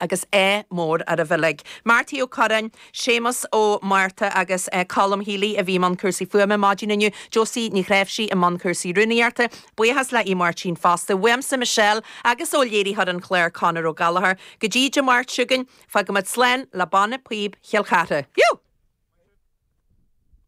Agus ádh mór oraibh uilig. Marty Ó Curráin, Séamus Ó Márta agus Colm Healy a bhí i mbun cúrsaí fuaime maidin inniu, Josie Ní Chnáimhsí i mbun cúrsaí rúnaíochta. Buíochas le Aodh Máirtín fosta. Uaimse Michelle agus ó léiritheoir an chláir Conor Ó Gallchóir. Go dtí Dé Máirt seo chugainn, fágfaimid slán le Banna Píob Chill Chartha. Fiú!